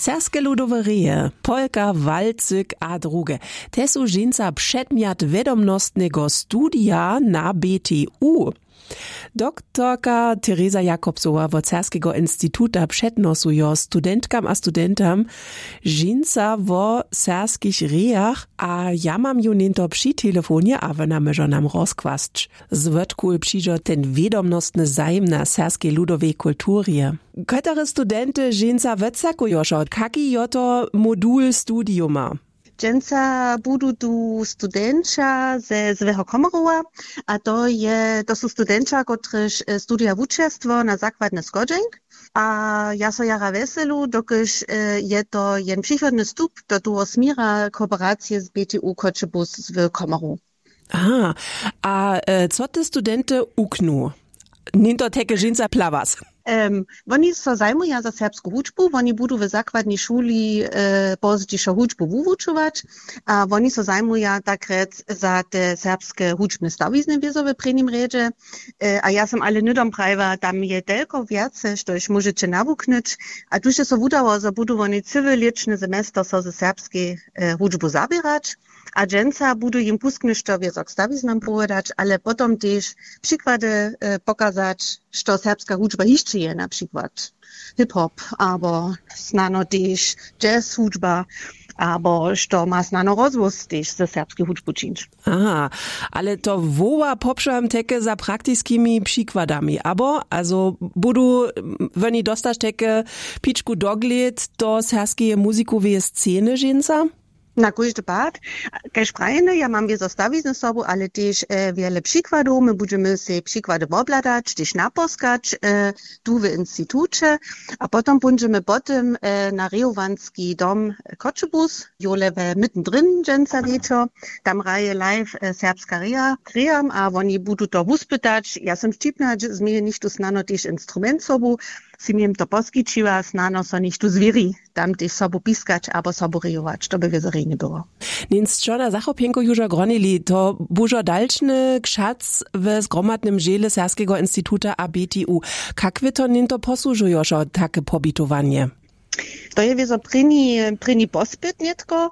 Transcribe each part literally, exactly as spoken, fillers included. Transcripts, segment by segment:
Serbske ludowe reje, polka, walcyk a druge, te su dźensa předmjat wědomnostneho studija na B T U. Doktorka Tereza Jakobsowa wot Serbskeho instituta přednosujo studentkam a studentam dźensa wo serbskich rejach a ja mam ju něhnto při telefonje a wona móžo nam rozkłasć, zwótkuž přižo ten wědomnostny zajim na serbskej ludowej kulturje. Kotore studenty dźensa wotsakujošo, kaki jo to modul studiuma? Dźensa budu tu studentša ze złeho komarowa, a to je to su studentša kotryž studija wučerstwo na zakładny schodźenk. A ja so jara wjeselu dokelž je to jen přichodny stup do toho směra kooperacije z B T U Choćebuz w Komaru. Aha. A co te studenty uknu? Něhnto teke dźensa plawas. Woni so zajmuja za serbsku hudźbu, woni budu w zakładnej šuli pozdźišo hudźbu wuwučować. A woni so zajmuja takrjec za te serbske hudźbne stawizny wězo w prěnim rjedźe. A ja sym ale hnydom prajiła, tam je telko wjace štož móžeće nawuknyć. A tuž je so wudało zo budu woni cyły lěćny semester so ze serbskej hudźbu zaběrać. A dźensa budu jim kusk něšto wězo k stawiznam powědać ale potom tež přikłady pokazać, što serbska hudźba hišće je na přikład hiphop abo snano tež jazz hudźba, abo što ma snano rozhłós tež ze serbskej hudźbu čińć. Aha. Ale to woła popšam teke za praktiskimi přikładami abo azo budu woni dostać teke pičku doglěd do serbskeje muzikoweje sceny dźensa? Na kóždy pad, kaž prajene ja mam wězo stawizny sobu ale tež wjele přikładow my budźemy sej přikłady wobhladać tež naposkać tu w instituće. A potom póńdźemy po tym na rejowanski dom choćebuz jole we mytendryn dźensa wječor. Tam hraje live serbska reja k rejam a woni budu to wuspytać ja sym wćipna změje něchtó snano tež instrument sobu. Sym jim to poskićiła snano so něchtó zwěri tam tež sobu piskać abo sobu rejować to by wězo rjenje było. Něnsčo na zachopjenku južo gronili to bužo dalšny kšac w zgromadnym dźěle serbskeho instituta a B T U. Kak wy to něhnto posłužujošo take pobitowanje? To je wězo prěni prěni pospyt nětko.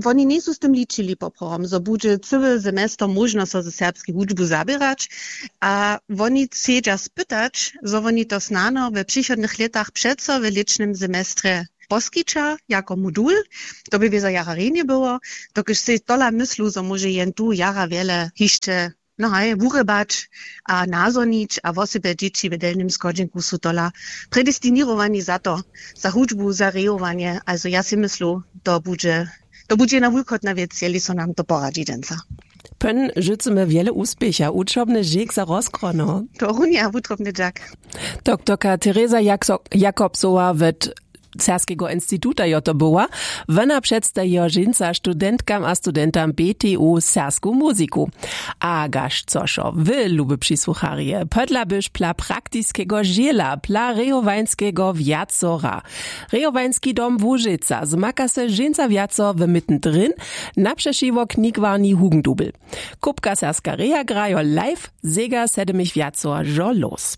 Woni njejsu z tym ličili poprawom zo budźe cyły semester móžno so ze serbskej hudźbu zaběrać. A woni chcedźa spytać zo woni to snano we přichodnych lětach přeco w lěćnym semestrje poskića jako modul. To by wězo jara rjenje było, dokelž sej tola myslu zo móže jen tu jara wjele hišće no haj wurěbać a nazhonić a wosebje dźěći w delnim schodźenku su tola predestiněrowani za to, za hudźbu za rejowanje. Azo ja sej myslu to budźe to budźe jedna wulkotna wěc jeli so nam to poradźi dźensa. Pyn žycymy wjele wuspěcha wučobny žěk za rozkrono. To runja wutrobny dźak. Doktorka tereza jakobsowa wot serbskeho instituta jo to była. Wona předstajijo dźensa studentkam a studentam B T U serbsku muziku. A gaž cošo wy luby přisłucharje podla byš pla praktiskego žěla pla rejowańskeho wjacora. Rejowański dom łužica zmaka se dźensa wjaco w mytn dryn na přešiwo knigwarni hugendubel. Kupka serbska reja grajo live zega sedymich wjacoražo los.